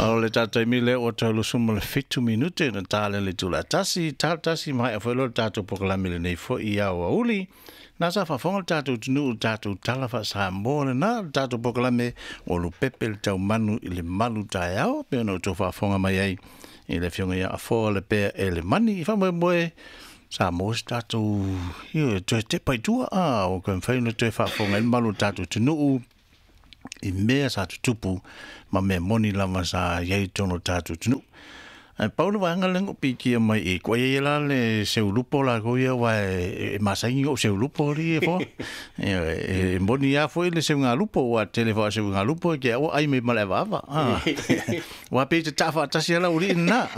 O le tatou taimi lea ua tau 27 minute na ta le itula e 1, 1 ma e foi lo le tatou polokalame lenei foi i aoauli. Na sa faafofoga le tatou atunuu, le tatou tala faa-Samoa lena, le tatou polokalame o Lupepe le Taumanu i le malu taeao, pe ona outou faafofoga mai ai i le afioga ia Afoa le Pea Elemani. I faamoemoe sa maua se tatou ioe toe tepa i tua, a ua toe mafai ona toe faafofoga ai le malu o le tatou atunuu i mea sa tutupu ma mea moni lava sa i ai i totonu o le tatou atunuu. Ae pau le vaega lea na ou pikia mai i koa ia la le seulupo latou ia aua e masani ou seulupo li e fo. E moni lava foi le seugalupo ua tele foi seugalupo ke au ai me male ava. Ua pe te tafa tasi ala uri na.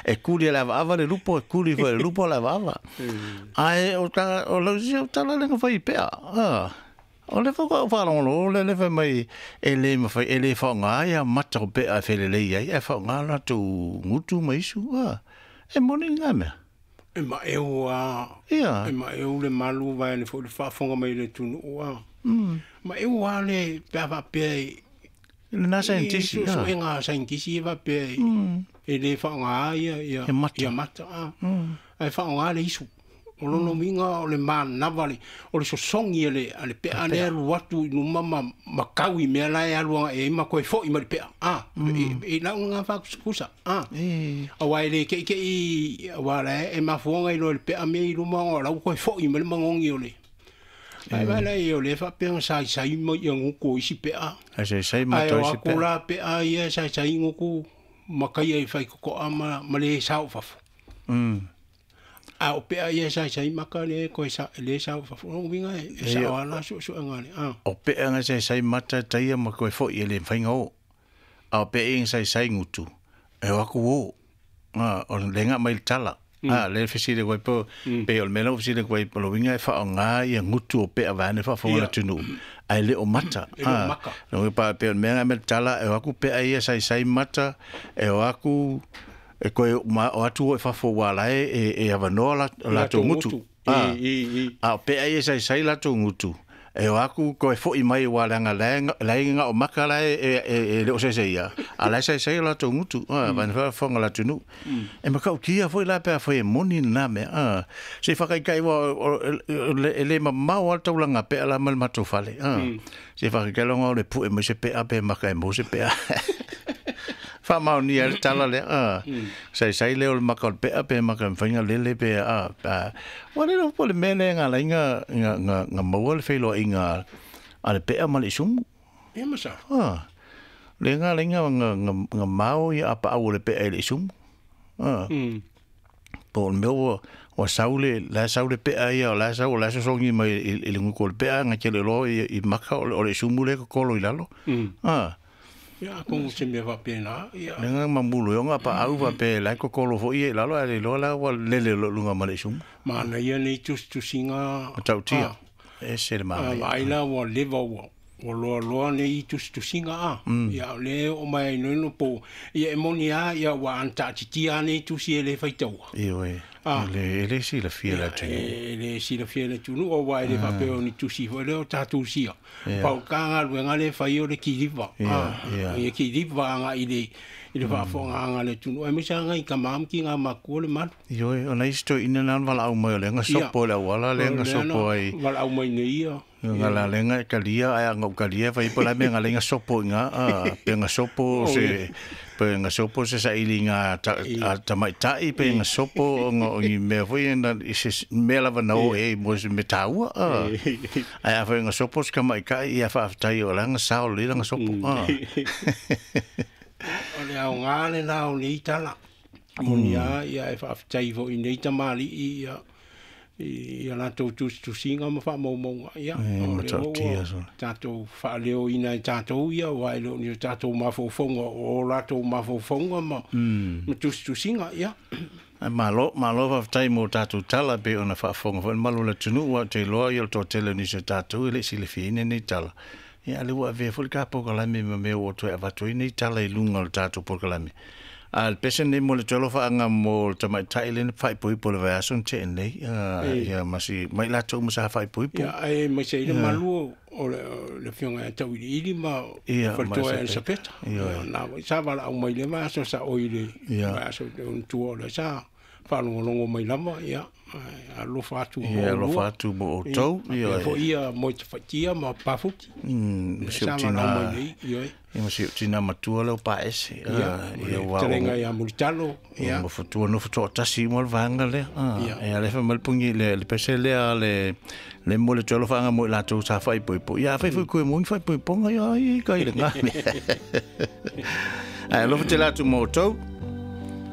E kuli le ava le lupo, e kuli foi le lupo le ava. Ai o ta o lau si o tala le fai pea. O le fai whaalongolo, le le fai mai e le mawhai, e le whaonga ia mata o pea e whelelei ai, e whaonga la tau ngutu ma isu, e moni ngā mea. E ma eu a e ma eu le malu vai le fo le faafofoga mai le atunuu a. Ma eu a le pe a faapea i Le nā scientist, ia. Suega scientist e faapea e le faaaoga ia ia Ia mata. Ia mata a. Ae faaaoga le isu. O lona uiga o le manava le o le sosogi a le pea lea alu atu i luma ma kau i mea la e alu agai ai ma toe fo'i mai le pea a i lau lena faakusakusa a. Auā e le ke'ike'i auā la e mafuaga i loa le pea mea i luma ona o la ua toe fo'i mai le magogi o le ae vaai o lea faapea na saisai ma ia gutu o isi pea. Ai sai sai ma ae toi o isi aku pea. La pea ia e saisai gutu ma kaia i faitoto'a ma lē sao fafo. A o pea ia e saisai maka le koe sa le sao fafo o uiga e sao ala su'esu'ega le a. O pea nga sai sai mata taia ma koe foi e le whainga o. A o pea inga sai sai ngutu. E o aku o. O le nga mai le tala. A, le fesile koe po, pe o le mea lau fesile koe po lo winga e wha o ngā ia ngutu o pea vane wha whaonga la tunu. Ai le o mata. E le o maka. No pa pe o le mea nga me le tala, e o aku pea ia sai sai mata, e o aku, e koe ma, o atu o e whafo wā lae e awanoa la tō ngutu. I A o pea ia sai sai la tō ngutu. E o aku koe foi mai wā langa laenga o maka lae e le o se se ia. A lai sai sai la tō ngutu. Vane whafonga la tunu. E makau kia foi la pea foi e moni nā mea. Se whakaikai wa e le ma mau al taulanga pea la mal matou fale. Se whakaikai longa o le pu e mo se pea pe maka e mo se pea. Whamau ni le tala le. Sai sai le o le maka o le pea pe maka mwhainga lele pe. Wa le po le mea le ngā lainga ngā maua le whailo i ngā a le pea ma le isumu. E ma sa. Le ngā lainga ngā mao i apa au o le pea i le isumu. Po le mea ua saule, la saule pea ia, o la sau, o la sosongi mai i le nguku o le pea, ngā tele loa i maka o le isumu le kokolo i lalo. Ia ko se mea faapena ia. Le ngā mamulu i o ngā pa au pa pe lai kokolo fo i lalo, a le loa la ua lele lo lunga ma le isumu. Mana ia nei tusitusiga. Ma tautia. E se le a mana. Vaai la ua leva ua loaloa nei tusitusiga a ia o le o mai ai noino po ia e moni a ia ua ana nei tusi e le faitaua. I oe. E le si la fia la tunu. E le silafia le atunuu auā e le faapea o ni tusi foi lea o tatou sia pau ka galuega le fai o le kiliva ia kiliva agaʻi i le faafogaaga le atunuu aemaise agai kamā ma kigā makua le malu. I oe, o nai sto ina nā wala au mai o le nga sopo le awala le nga sopo ai. Valaau mai nei ia. Nga la lenga e kalia, ai nga ukalia, fai po la me nga lenga sopo nga, pe nga sopo se, pe nga sopo se sa ili nga tamaitai, pe nga sopo nga o i mea foi na, i se mea lava na o e, mo se me taua, Ai a foi nga sopo se kamaikai, ia whaaftai o la nga sao le nga sopo, O le aogā lenā o nei tala moni a ia e faafetai foʻi nei tamalii ia ia latou tusitusiga ma faamaumauga ia E, o lea matautia ua sole. Tatou faaleoina e tatou ia uā e le o ni o tatou mafaufauga o latou mafaufauga ma tusitusiga ia. Ai malo, malo whaftai mō tātou tala pe ona whaafonga wha malo la tunu ua te loa i o tō tele ni se tātou i le si le whiine nei tala. Ia ale ua avea fo le ka pokalame ma mea o toe avatu i nei tala i lunga o le tātou pokalame. A le pese nei mo le tolo whaanga mo le tamaitai le whaipoipo le vaiaso na te nei. Ia masi mai latou ma sa whaipoipo. Ia ai mai se ile malu o le fionga e tau ili ma faletua e Elisapeta. Na sa vala au mai le vaiaso sa oi le vaiaso o tua o le sa whaalongolongo mai lava, ia alofa atu mo ia alofa atu mo outou. Ia foi ia mo te whaitia ma pafuti. Sa vala au mai nei, ia. Ia ma si tina matua leo pa ese. Ia wa. Terenga ia Mulitalo. Ia. Ma fatua no fatua tasi mo le vanga le. Ia le fa malpungi le pese le le le mo le tolo whanga mo latou sa whaipoipo. Ia whai koe mo whaipoiponga ia i kai le ngā. Ai alofa te latu mo outou.